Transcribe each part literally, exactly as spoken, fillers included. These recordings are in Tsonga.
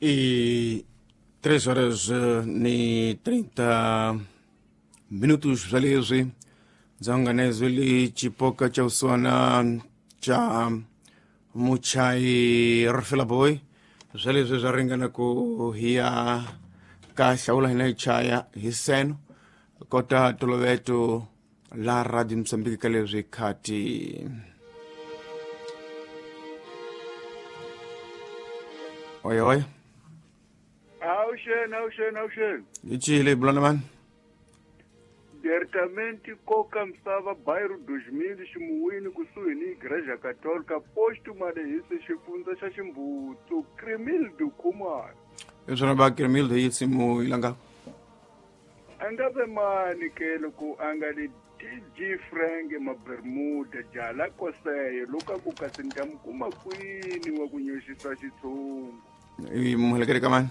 E três horas e trinta minutos zalezwi dzanganezweli chipoka cha uswana cha muchai rifela boy zalezwi zwa ringana ku hiya ka hlawula hina hi chaya hi seno kota toloveto la Radio Mozambique ka leswi khati oi oi. Awuxeni, awuxeni, awuxeni. Hi cile bulana mani? Diretamente Coca Misava, bairro dois mil, Ximuwini, kusuhi ni Igreja Católica, posto Malehisi, xifundza xa Ximbutu, Cremildo Khumalo. I swona va Cremildo yi simu yi langa? A nga ve mani ke loko a nga li D J Frank Mabermuda, jala koseyo, loko a ku kasi ni ta mi kuma kwini wa ku nyoxisa xitshungu. I muhelekete ka mani?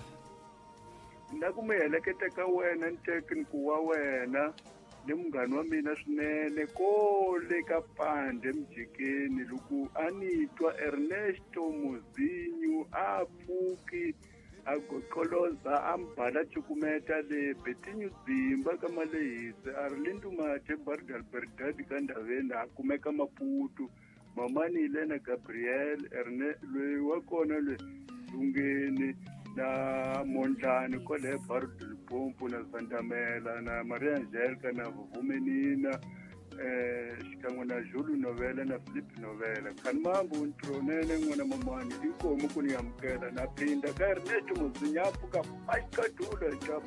Na ku mi heleketa ka wena ntekniku wa wena ni munghana wa mina swinene kole ka Pande Mjikeni loko a ni twa Ernesto Mozinho a pfuki a goqoloza a mbala cukumeta le Betinho Dzimba ka Malehisi a ri Lindu Mathe Bardal Berdad ka Ndaveni a kumeka Maputo mamani Elena Gabriel Erne loyi wa kona loyi Lungeni na Mondlani kwale Bardo Limpopo na Zandamela na Maria Angelica na Vuvumenina eh xikan'we na Julu Novela na Philip Novela khanimambu ntronene n'wana mamani inkomu ku ni amukela na phinda ka Ernesto Mozinyapu ka Paikadula xa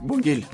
Bongile.